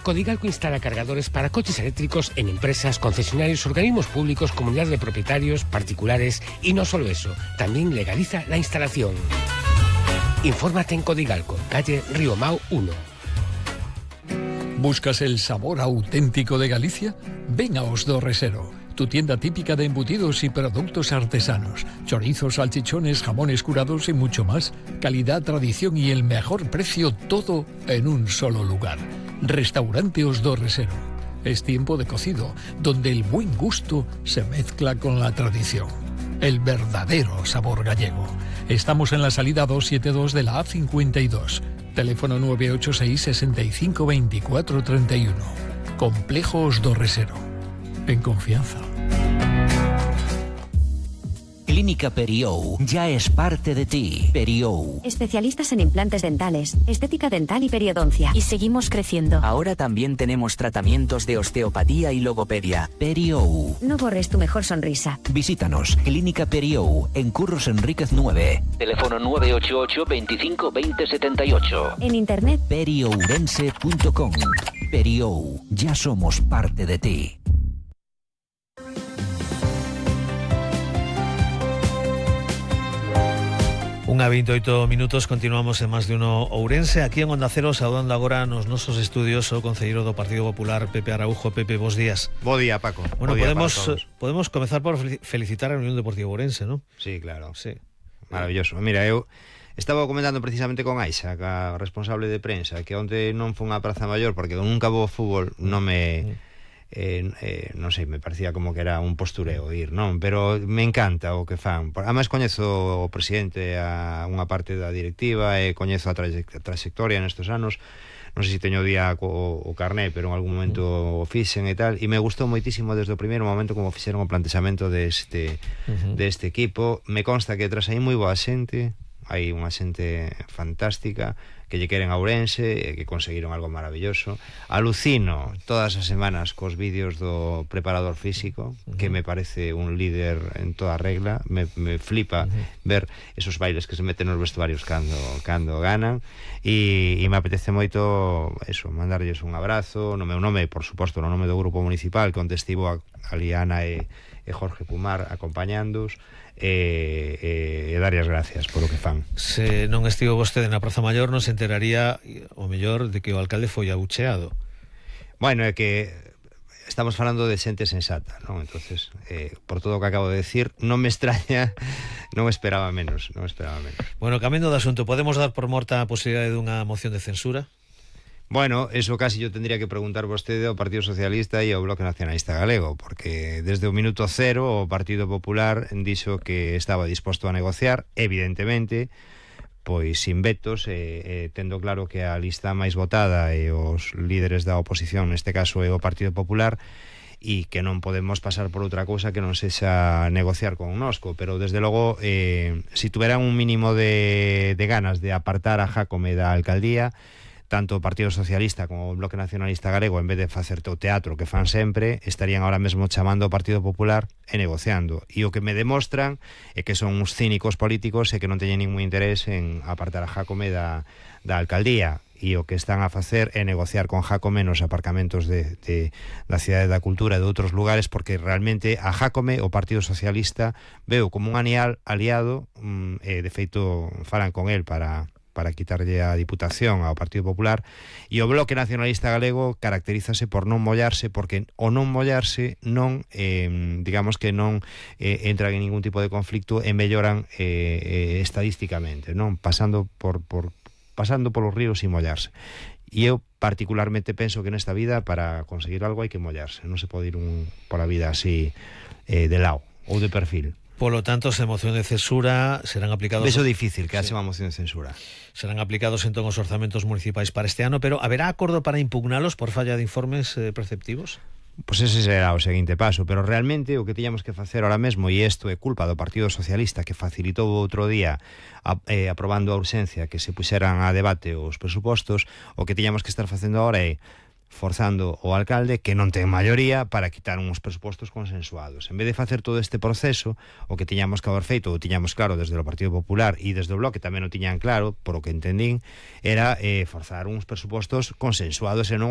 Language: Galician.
Codigalco instala cargadores para coches eléctricos en empresas, concesionarios, organismos públicos, comunidades de propietarios, particulares y no solo eso, también legaliza la instalación. Infórmate en Codigalco, calle Río Mau 1. ¿Buscas el sabor auténtico de Galicia? Ven a Os do Resero, tu tienda típica de embutidos y productos artesanos. Chorizos, salchichones, jamones curados y mucho más. Calidad, tradición y el mejor precio, todo en un solo lugar. Restaurante Os do Resero. Es tiempo de cocido, donde el buen gusto se mezcla con la tradición. El verdadero sabor gallego. Estamos en la salida 272 de la A52. Teléfono 986 65 24 31. Complejo Os do Resero. En confianza. Clínica Periou ya es parte de ti. Periou. Especialistas en implantes dentales, estética dental y periodoncia. Y seguimos creciendo. Ahora también tenemos tratamientos de osteopatía y logopedia. Periou. No borres tu mejor sonrisa. Visítanos. Clínica Periou, en Curros Enríquez 9. Teléfono 988 25 20 78. En internet, periourense.com. Periou, ya somos parte de ti. Unha 28 minutos, continuamos en Más de Uno Ourense. Aquí en Onda Cero, saudando agora nos nosos estudios o concelleiro do Partido Popular, Pepe Araujo. Pepe, bos días. Bo día, Paco. Bueno, día podemos comezar por felicitar a Unión Deportiva Ourense, ¿no? Sí, claro. Sí. Maravilloso. Mira, eu estaba comentando precisamente con Aixa, a responsable de prensa, que onte non foi unha praza maior porque nunca vou ao fútbol, non me... non sei, me parecía como que era un postureo ir, non? Pero me encanta o que fan. Ademais coñezo o presidente, a unha parte da directiva, e coñezo a trayectoria nestes anos. Non sei se teño día o carné, pero en algún momento o fixen e tal, e me gustou moitísimo desde o primeiro momento como fixeron o plantexamento deste equipo. Me consta que tras aí moi boa xente, hai unha xente fantástica que lle queren a Ourense e que conseguiron algo maravilloso. Alucino todas as semanas cos vídeos do preparador físico, que me parece un líder en toda regla. Me flipa ver esos bailes que se meten nos vestuarios cando ganan, e me apetece moito eso, mandarlles un abrazo no meu nome, por suposto, no nome do grupo municipal, que onde estivo a Liana e Jorge Pumar acompañándoos, e darlle as gracias polo que fan. Se non estivo vostede na Praza Maior, non se enteraría o mellor de que o alcalde foi abucheado. Bueno, é que estamos falando de xente sensata, non? Entonces, por todo o que acabo de decir, non me extraña, non esperaba menos. Bueno, cambiando de asunto, podemos dar por morta a posibilidade dunha moción de censura? Bueno, eso casi yo tendría que preguntar vostede ao Partido Socialista e ao Bloque Nacionalista Galego, porque desde o minuto cero o Partido Popular dixo que estaba disposto a negociar, evidentemente, pois sin vetos, tendo claro que a lista máis votada e os líderes da oposición, neste caso é o Partido Popular, e que non podemos pasar por outra cousa que non sexa negociar con nosco, pero desde logo, si tuveran un mínimo de ganas de apartar a Jácome da alcaldía, tanto o Partido Socialista como o Bloque Nacionalista Galego, en vez de facer o teatro que fan sempre, estarían ahora mesmo chamando ao Partido Popular e negociando. E o que me demostran é que son uns cínicos políticos e que non teñen ningún interés en apartar a Jácome da alcaldía. E o que están a facer é negociar con Jácome nos aparcamentos da Cidade da Cultura e de outros lugares, porque realmente a Jácome o Partido Socialista veo como un aliado, e de feito falan con el para quitarlle a Diputación ao Partido Popular, e o Bloque Nacionalista Galego caracterízase por non mollarse, porque o non mollarse non, digamos que non entran en ningún tipo de conflicto e melloran estadísticamente, non pasando polos ríos sin mollarse. E eu particularmente penso que nesta vida para conseguir algo hai que mollarse, non se pode ir por a vida así de lado ou de perfil. Polo tanto, se moción de censura serán aplicados... Beso difícil que haxe unha moción de censura. Serán aplicados entón os orzamentos municipais para este ano, pero haberá acordo para impugnalos por falla de informes preceptivos? Pois ese será o seguinte paso, pero realmente o que tiñamos que facer ahora mesmo, e isto é culpa do Partido Socialista, que facilitou outro día aprobando a urxencia que se puxeran a debate os presupostos, o que tiñamos que estar facendo ahora é forzando o alcalde, que non ten maioría, para quitar uns presupostos consensuados. En vez de facer todo este proceso, o que tiñamos que haber feito, o tiñamos claro desde o Partido Popular e desde o Bloque tamén o tiñan claro, por o que entendín, era forzar uns presupostos consensuados e non